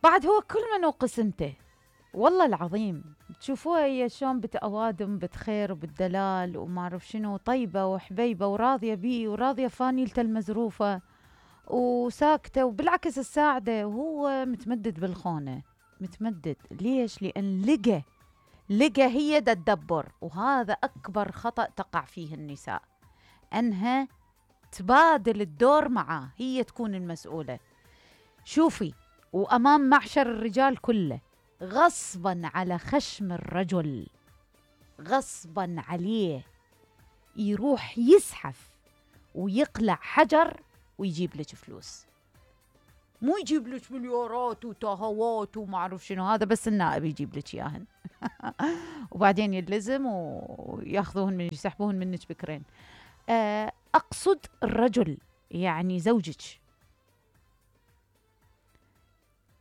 بعد هو كل منو قسمته، والله العظيم تشوفوها هي شلون بتأوادم بالخير وبالدلال وما اعرف شنو، طيبة وحبيبة وراضية بيه وراضية فانيلته المزروفة وساكتة، وبالعكس تساعده، وهو متمدد بالخونة. متمدد ليش؟ لأن لقى هي دا تدبر. وهذا أكبر خطأ تقع فيه النساء، أنها تبادل الدور معاه، هي تكون المسؤولة. شوفي، وأمام معشر الرجال كله، غصبا على خشم الرجل، غصبا عليه يروح يزحف ويقلع حجر ويجيب لك فلوس، مو يجيب لك مليارات وتهوات وما اعرف شنو، هذا بس النائب يجيب لك اياهن. وبعدين يلزم وياخذوهن من يسحبوهن منك بكرين. اقصد الرجل، يعني زوجك.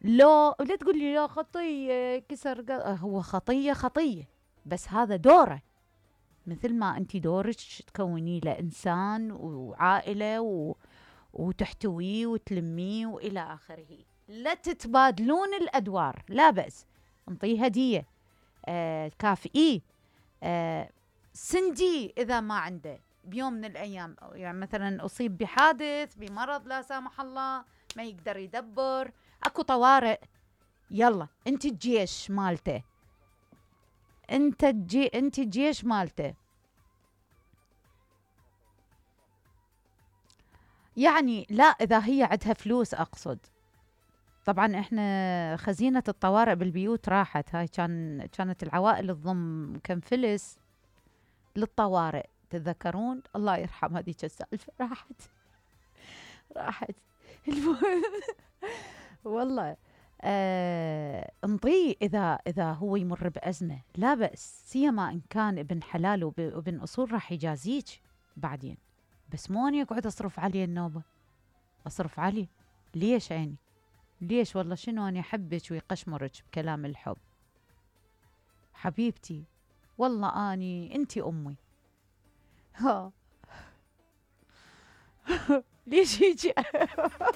لا تقول لي لا خطيه كسر هو خطيه، بس هذا دوره. مثل ما انت دورك تكوني له انسان وعائله وتحتويه وتلميه والى اخره. لا تتبادلون الادوار، لا بأس. انطيه هديه، كافئيه، سندي اذا ما عنده بيوم من الايام، يعني مثلا اصيب بحادث بمرض لا سامح الله ما يقدر يدبر، اكو طوارئ، يلا انت الجيش مالته، انت الجيش مالته. يعني لا، اذا هي عندها فلوس اقصد. طبعا احنا خزينة الطوارئ بالبيوت راحت، هاي كانت العوائل تضم كم فلس للطوارئ، تتذكرون؟ الله يرحم هذيك السالفة، راحت. المهم والله انطيه اذا هو يمر بأزمة، لا بأس، سيما ان كان ابن حلال وابن اصول راح يجازيك بعدين. بس مو اني اقعد اصرف عليه النوبة، اصرف عليه ليش عيني؟ ليش والله؟ شنو اني احبك ويقشمرك بكلام الحب؟ حبيبتي والله انتي امي. ها. ليش هيجي؟